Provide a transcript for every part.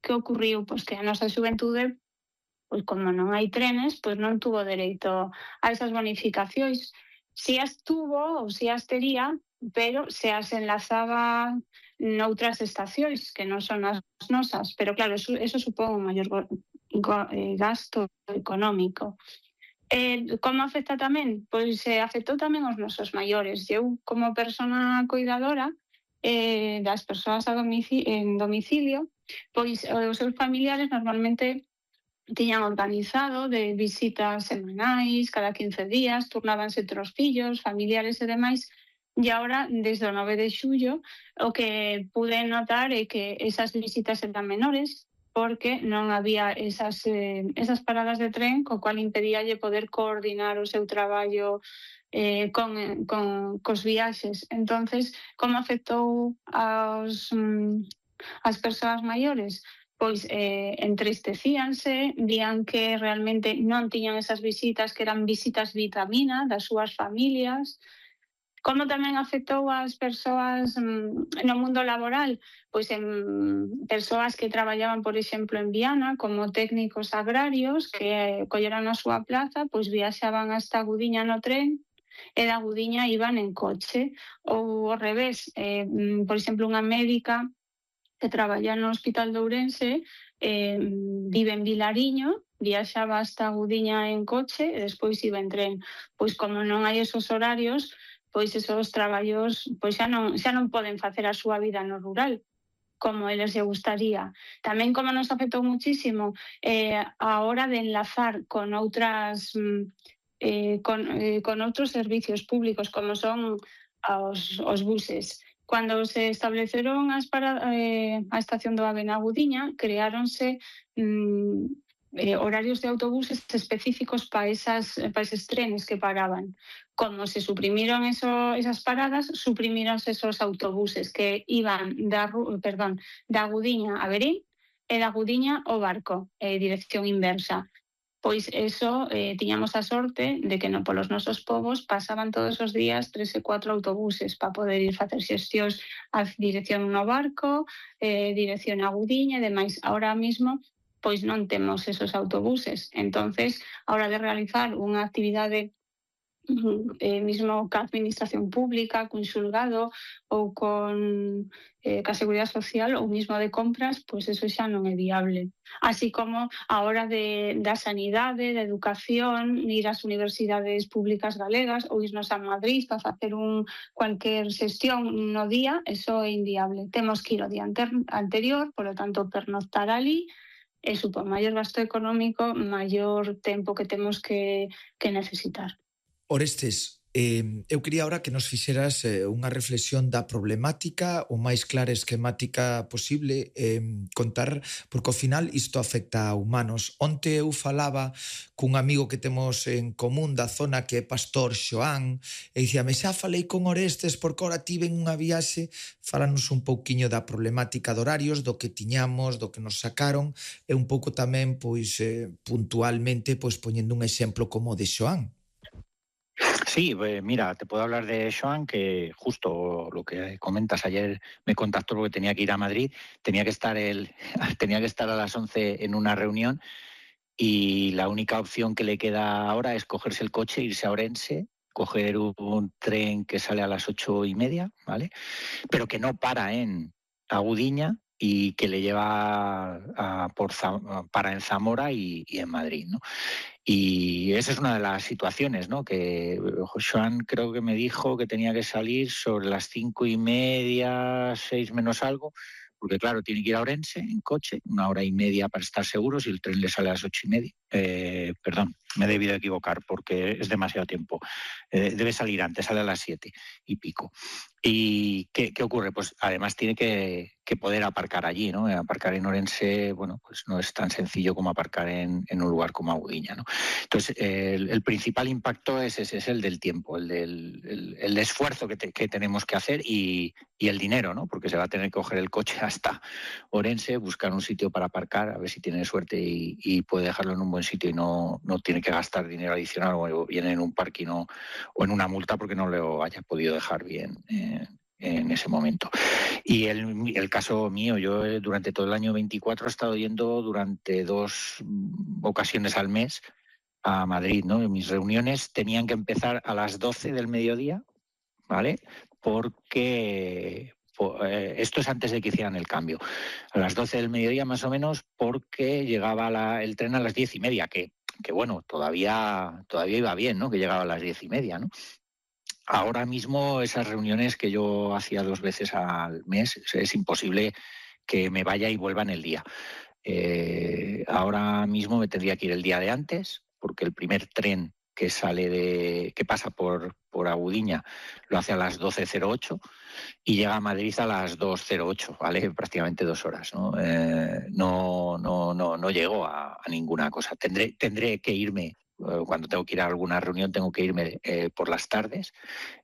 que ocurriu? Pois que a nosa xuventude, pois como non hai trenes, pois non tuvo dereito a esas bonificacións. Si as tuvo ou si as tería, pero se as enlazaba noutras estacións que non son as nosas. Pero claro, eso supón un maior gasto económico. Como afecta tamén? Pois afectou tamén aos nosos maiores. Eu, como persona cuidadora das persoas en domicilio, pois os seus familiares normalmente tiñan organizado de visitas semanais, cada 15 días, turnábanse entre os fillos, familiares e demais, e agora, desde o 9 de xullo, o que pude notar é que esas visitas eran menores, porque non había esas paradas de tren, co cual impedíalle poder coordinar o seu traballo cos viaxes. Entonces, como afectou as persoas maiores? Pois entristecíanse, vían que realmente non tiñan esas visitas, que eran visitas vitamina das súas familias. Como tamén afectou as persoas no mundo laboral? Pois en persoas que traballaban, por exemplo, en Viana, como técnicos agrarios, que colleran a súa plaza, pois viaxaban hasta Gudiña no tren, e da Gudiña iban en coche. Ou ao revés, por exemplo, unha médica que traballa no Hospital de Ourense, vive en Vilariño, viaxaba hasta Gudiña en coche e despois iba en tren. Pois como non hai esos horarios, pois esos traballos pois xa non poden facer a súa vida no rural como eles lle gustaría. Tamén como nos afectou muchísimo a hora de enlazar con outras con outros servicios públicos como son os buses. Cando se estableceron a estación do AVE na Gudiña, creáronse horarios de autobuses específicos para eses trenes que paraban. Como se suprimiron esas paradas, suprimíronse esos autobuses que iban da Gudiña a Verín e da Gudiña ao Barco, dirección inversa. Pois eso, tiñamos a sorte de que polos nosos povos pasaban todos os días 3 e 4 autobuses para poder ir facer xestións a dirección no Barco, dirección a Gudiña e demais. Ahora mismo, pois non temos esos autobuses. Entonces, a hora de realizar unha actividade mismo ca administración pública, cun xulgado ou ca Seguridade Social ou mismo de compras, pois eso xa non é viable. Así como a hora da sanidade, da educación, ir ás universidades públicas galegas ou irnos a Madrid para facer cualquier xestión no día, eso é inviable. Temos que ir ao día anterior, polo tanto, pernoctar ali, e supón maior gasto económico, maior tempo que temos que necesitar. Orestes, eu quería ahora que nos fixeras unha reflexión da problemática o máis clara e esquemática posible, contar, porque ao final isto afecta a humanos. Onte eu falaba cun amigo que temos en común da zona que é Pastor Xoán e dicíame, xa falei con Orestes porque ora tiven unha viaxe, falanos un pouquiño da problemática de horarios, do que tiñamos, do que nos sacaron e un pouco tamén, pois, puntualmente, pois poñendo un exemplo como o de Xoán. Sí, mira, te puedo hablar de Xoán, que justo lo que comentas, ayer me contactó porque tenía que ir a Madrid, tenía que estar a las 11 en una reunión y la única opción que le queda ahora es cogerse el coche, irse a Orense, coger un tren que sale a las 8:30, ¿vale? Pero que no para en Agudiña y que le lleva para en Zamora y en Madrid, ¿no? Y esa es una de las situaciones, ¿no? Que Joan creo que me dijo que tenía que salir sobre las 5:30, 6 menos algo, porque claro, tiene que ir a Orense en coche, 1:30 para estar seguro, si el tren le sale a las 8:30. Perdón, me he debido equivocar porque es demasiado tiempo. Debe salir antes, sale a las 7:00 ¿Y qué ocurre? Pues además tiene que poder aparcar allí, ¿no? Aparcar en Orense, bueno, pues no es tan sencillo como aparcar en un lugar como Agudiña, ¿no? Entonces, el principal impacto es el del tiempo, el esfuerzo que tenemos que hacer y el dinero, ¿no? Porque se va a tener que coger el coche hasta Orense, buscar un sitio para aparcar, a ver si tiene suerte y puede dejarlo en un buen sitio y no tiene que gastar dinero adicional o viene en un parking o en una multa porque no lo haya podido dejar bien en ese momento. Y el caso mío, yo durante todo el año 24 he estado yendo durante 2 ocasiones al mes a Madrid, ¿no? Y mis reuniones tenían que empezar a las 12 del mediodía, ¿vale? Porque esto es antes de que hicieran el cambio. A las 12 del mediodía más o menos, porque llegaba el tren a las 10:30, que bueno, todavía iba bien, ¿no? Que llegaba a las 10:30, ¿no? Ahora mismo esas reuniones que yo hacía 2 veces al mes, es imposible que me vaya y vuelva en el día. Ahora mismo me tendría que ir el día de antes, porque el primer tren que pasa por Agudiña lo hace a las 12:08 y llega a Madrid a las 2:08, ¿vale? Prácticamente 2 horas, ¿no? No llego a ninguna cosa. Tendré que irme. Cuando tengo que ir a alguna reunión tengo que irme por las tardes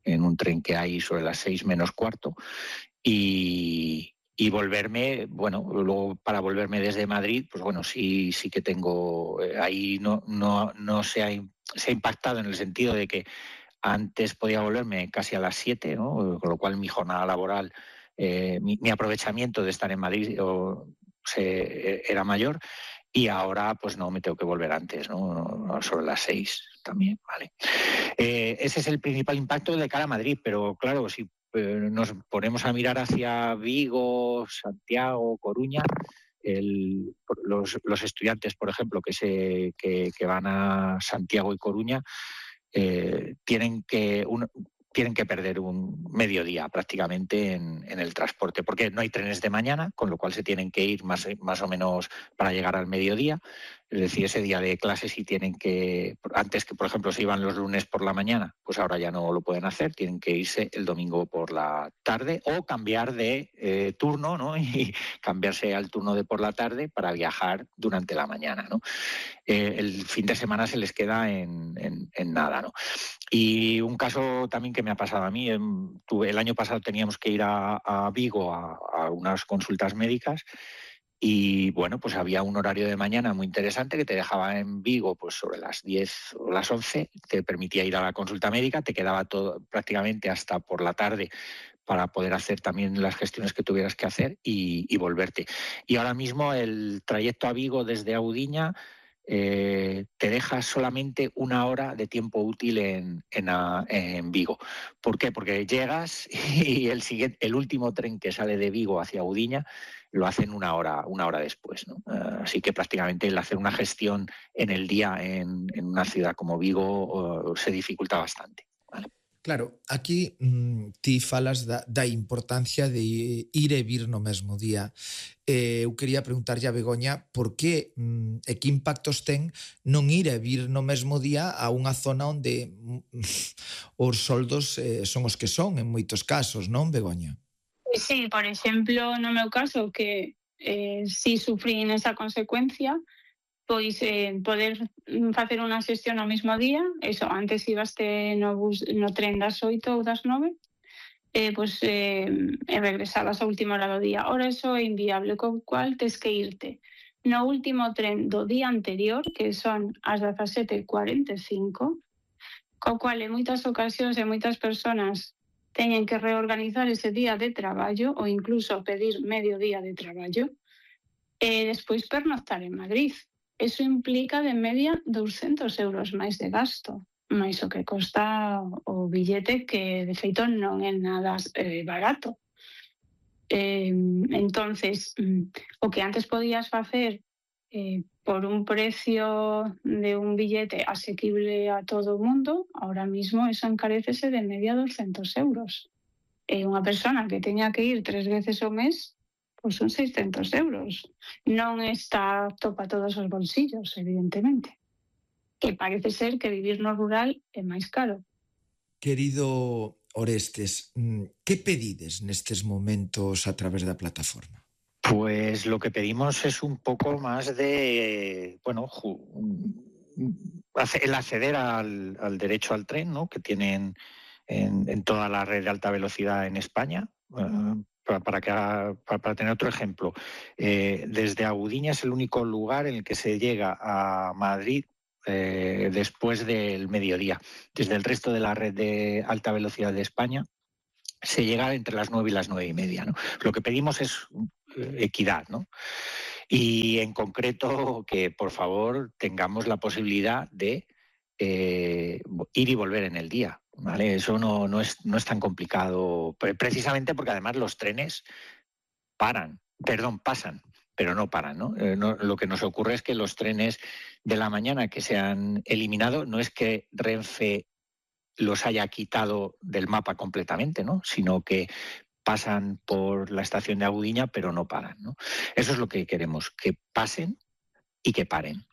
en un tren que hay sobre las 6 menos cuarto y volverme, bueno, luego para volverme desde Madrid, pues bueno, sí que tengo, ahí no se ha impactado en el sentido de que antes podía volverme casi a las 7, ¿no? Con lo cual mi jornada laboral, mi aprovechamiento de estar en Madrid era mayor. Y ahora, pues no, me tengo que volver antes, ¿no? Sobre las 6 también, ¿vale? Ese es el principal impacto de cara a Madrid, pero claro, si nos ponemos a mirar hacia Vigo, Santiago, Coruña, los estudiantes, por ejemplo, que van a Santiago y Coruña, tienen que perder un mediodía prácticamente en el transporte, porque no hay trenes de mañana, con lo cual se tienen que ir más o menos para llegar al mediodía. Es decir, ese día de clase sí tienen que, antes que por ejemplo se iban los lunes por la mañana, pues ahora ya no lo pueden hacer, tienen que irse el domingo por la tarde o cambiar de turno, ¿no? Y cambiarse al turno de por la tarde para viajar durante la mañana, ¿no? El fin de semana se les queda en nada, ¿no? Y un caso también que me ha pasado a mí, el año pasado teníamos que ir a Vigo a unas consultas médicas y bueno, pues había un horario de mañana muy interesante que te dejaba en Vigo pues sobre las 10 o las 11, te permitía ir a la consulta médica, te quedaba todo prácticamente hasta por la tarde para poder hacer también las gestiones que tuvieras que hacer y volverte. Y ahora mismo el trayecto a Vigo desde Audiña te deja solamente 1 hora de tiempo útil en Vigo. ¿Por qué? Porque llegas y el último tren que sale de Vigo hacia Audiña lo hacen 1 hora después, ¿no? Así que prácticamente el hacer una gestión en el día en una ciudad como Vigo se dificulta bastante, ¿vale? Claro, aquí ti falas da importancia de ir e vir no mesmo día. Eu quería preguntarlle a Begoña por que e que impactos ten non ir e vir no mesmo día a unha zona onde os soldos son os que son en moitos casos, non, Begoña? Sí, por exemplo, no meu caso, que si sufrín esa consecuencia, pois poder facer unha xestión ao mesmo día, eso, antes ibaste no tren das 8 ou das 9, pois regresabas a última hora do día. Ora eso é inviable, co cual tes que irte no último tren do día anterior, que son as 17:45, co cual en moitas ocasións e moitas persoas teñen que reorganizar ese día de traballo ou incluso pedir medio día de traballo e despois pernoctar en Madrid. Eso implica de media 200 euros máis de gasto, máis o que costa o billete, que de feito non é nada barato. Entonces, o que antes podías facer por un precio de un billete asequible a todo o mundo, ahora mismo eso encarécese de media 200 euros. Unha persona que teña que ir 3 veces ao mes, pois son 600 euros. Non está apto para todos os bolsillos, evidentemente. Que parece ser que vivir no rural é máis caro. Querido Orestes, que pedides nestes momentos a través da plataforma? Pues lo que pedimos es un poco más de, bueno, el acceder al derecho al tren, ¿no? Que tienen en toda la red de alta velocidad en España. Para tener otro ejemplo, desde Agudiña es el único lugar en el que se llega a Madrid después del mediodía. Desde el resto de la red de alta velocidad de España se llega entre las 9 y las 9:30, ¿no? Lo que pedimos es equidad, ¿no? Y en concreto que, por favor, tengamos la posibilidad de ir y volver en el día, ¿vale? Eso no es tan complicado, precisamente porque además los trenes pasan, pero no paran, ¿no? Lo que nos ocurre es que los trenes de la mañana que se han eliminado no es que Renfe los haya quitado del mapa completamente, ¿no? Sino que pasan por la estación de Agudiña, pero no paran, ¿no? Eso es lo que queremos, que pasen y que paren.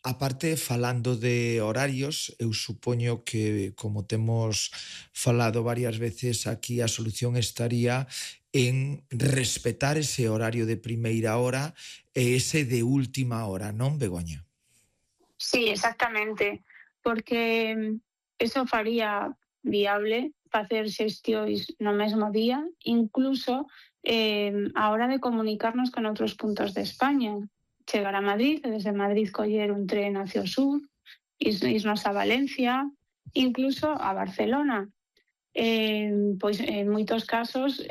Aparte, falando de horarios, eu supoño que, como temos falado varias veces aquí, a solución estaría en respetar ese horario de primeira hora e ese de última hora, non, Begoña? Sí, exactamente, porque eso faría viable facer xestións no mesmo día, incluso a hora de comunicarnos con outros puntos de España. Chegar a Madrid, e desde Madrid coller un tren hacia o sur, irnos a Valencia, incluso a Barcelona. Pois en moitos casos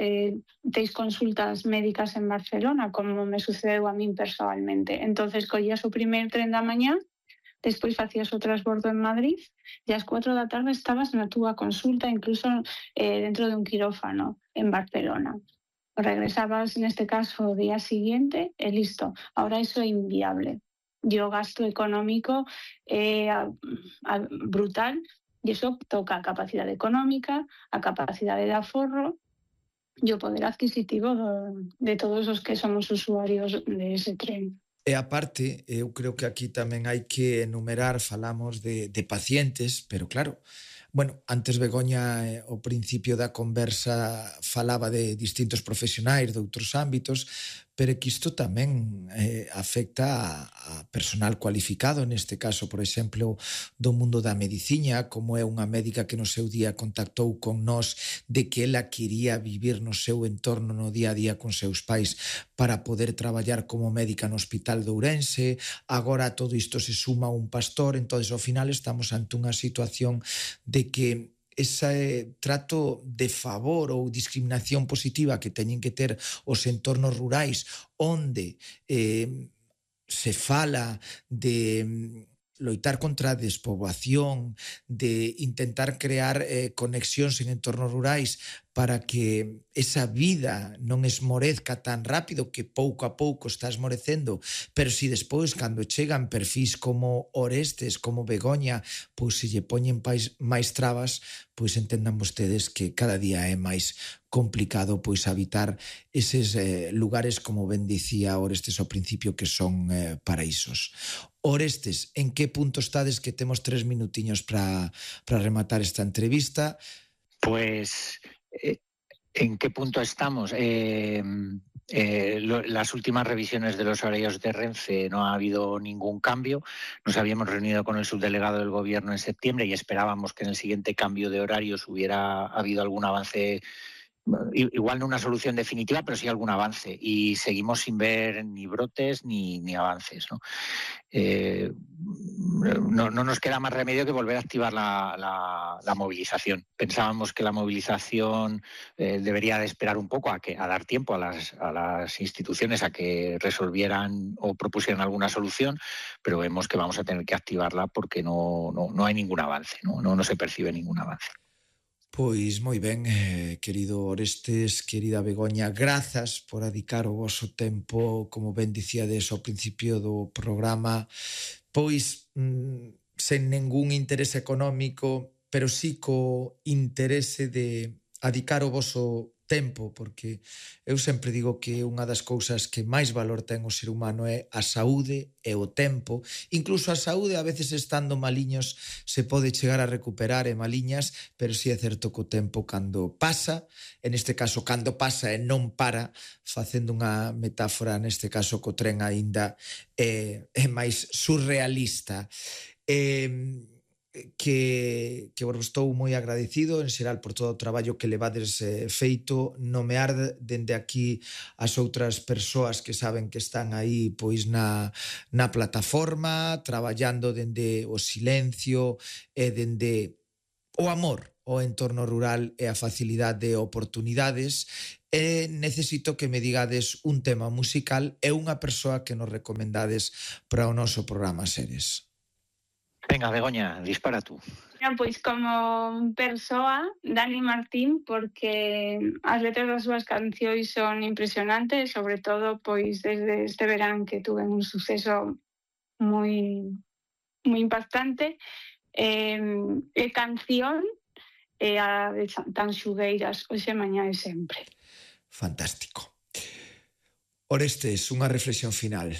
teis consultas médicas en Barcelona, como me sucedeu a min persoalmente. Entonces collías o primeiro tren da mañá, despois facías o transbordo en Madrid e ás 4 da tarde estabas na túa consulta, incluso dentro de un quirófano en Barcelona. Regresabas, neste caso, o día siguiente e listo. Ahora eso é inviable. E o gasto económico é brutal e iso toca a capacidade económica, a capacidade de aforro e o poder adquisitivo de todos os que somos usuarios de ese tren. E aparte, eu creo que aquí tamén hai que enumerar, falamos de pacientes, pero claro, bueno, antes Begoña, ao principio da conversa, falaba de distintos profesionais de outros ámbitos, pero que isto tamén afecta a personal cualificado, neste caso, por exemplo, do mundo da medicina, como é unha médica que no seu día contactou con nós de que ela quería vivir no seu entorno no día a día con seus pais para poder traballar como médica no Hospital de Ourense. Agora todo isto se suma a un pastor, entonces ao final estamos ante unha situación de que ese trato de favor ou discriminación positiva que teñen que ter os entornos rurais onde se fala de loitar contra a despoboación, de intentar crear conexións en entornos rurais para que esa vida non esmorezca tan rápido, que pouco a pouco está esmorecendo, pero si despois, cando chegan perfís como Orestes, como Begoña, pois se lle poñen máis trabas, pois entendan vostedes que cada día é máis complicado pois habitar eses lugares, como ben dicía Orestes ao principio, que son paraísos. Orestes, en que punto estades, que temos 3 minutiños para rematar esta entrevista? Pues, ¿en qué punto estamos? Las últimas revisiones de los horarios de Renfe no ha habido ningún cambio. Nos habíamos reunido con el subdelegado del Gobierno en septiembre y esperábamos que en el siguiente cambio de horarios hubiera habido algún avance. Igual no una solución definitiva, pero sí algún avance. Y seguimos sin ver ni brotes ni avances, ¿no? No nos queda más remedio que volver a activar la movilización. Pensábamos que la movilización debería de esperar un poco a dar tiempo a las instituciones a que resolvieran o propusieran alguna solución, pero vemos que vamos a tener que activarla porque no hay ningún avance, no se percibe ningún avance. Pois moi ben, querido Orestes, querida Begoña, grazas por dedicar o voso tempo, como ben dicíades ao principio do programa, pois sen ningún interese económico, pero sí co interese de adicar o voso tempo, porque eu sempre digo que unha das cousas que máis valor ten o ser humano é a saúde e o tempo. Incluso a saúde, a veces estando maliños, se pode chegar a recuperar e maliñas, pero si é certo que o tempo cando pasa, en este caso cando pasa e non para, facendo unha metáfora neste caso co tren aínda, é máis surrealista. Que estou moi agradecido en xeral por todo o traballo que levades feito, nomear dende aquí as outras persoas que saben que están aí pois na plataforma, traballando dende o silencio e dende o amor o entorno rural e a facilidade de oportunidades. Necesito que me digades un tema musical e unha persoa que nos recomendades para o noso programa Seres. Venga, Begoña, dispara tú. Pois como persoa, Dani Martín, porque as letras das súas cancións son impresionantes, sobre todo pois desde este verán que tuve un suceso moi impactante. Canción a de Tan Xugueiras, Hoxe, Mañá e Sempre. Fantástico. Orestes, unha reflexión final.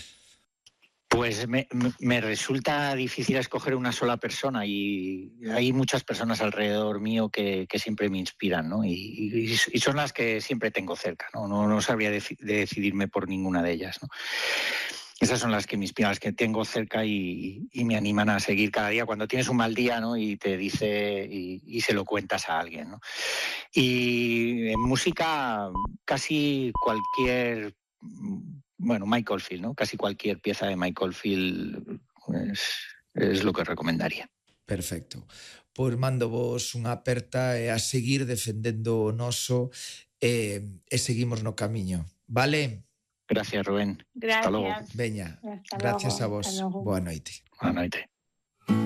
Pues me resulta difícil escoger una sola persona y hay muchas personas alrededor mío que siempre me inspiran, ¿no? Y son las que siempre tengo cerca, ¿no? No sabría decidirme por ninguna de ellas, ¿no? Esas son las que me inspiran, las que tengo cerca y me animan a seguir cada día cuando tienes un mal día, ¿no? Y te dice y se lo cuentas a alguien, ¿no? Y en música casi cualquier... Bueno, Mike Oldfield, ¿no? Casi cualquier pieza de Mike Oldfield es lo que recomendaría. Perfecto. Pois mando vos unha aperta e a seguir defendendo o noso e seguimos no camiño. Vale? Gracias, Rubén. Gracias. Hasta logo. Veña, Hasta gracias logo. a vos. Boa noite. Boa noite.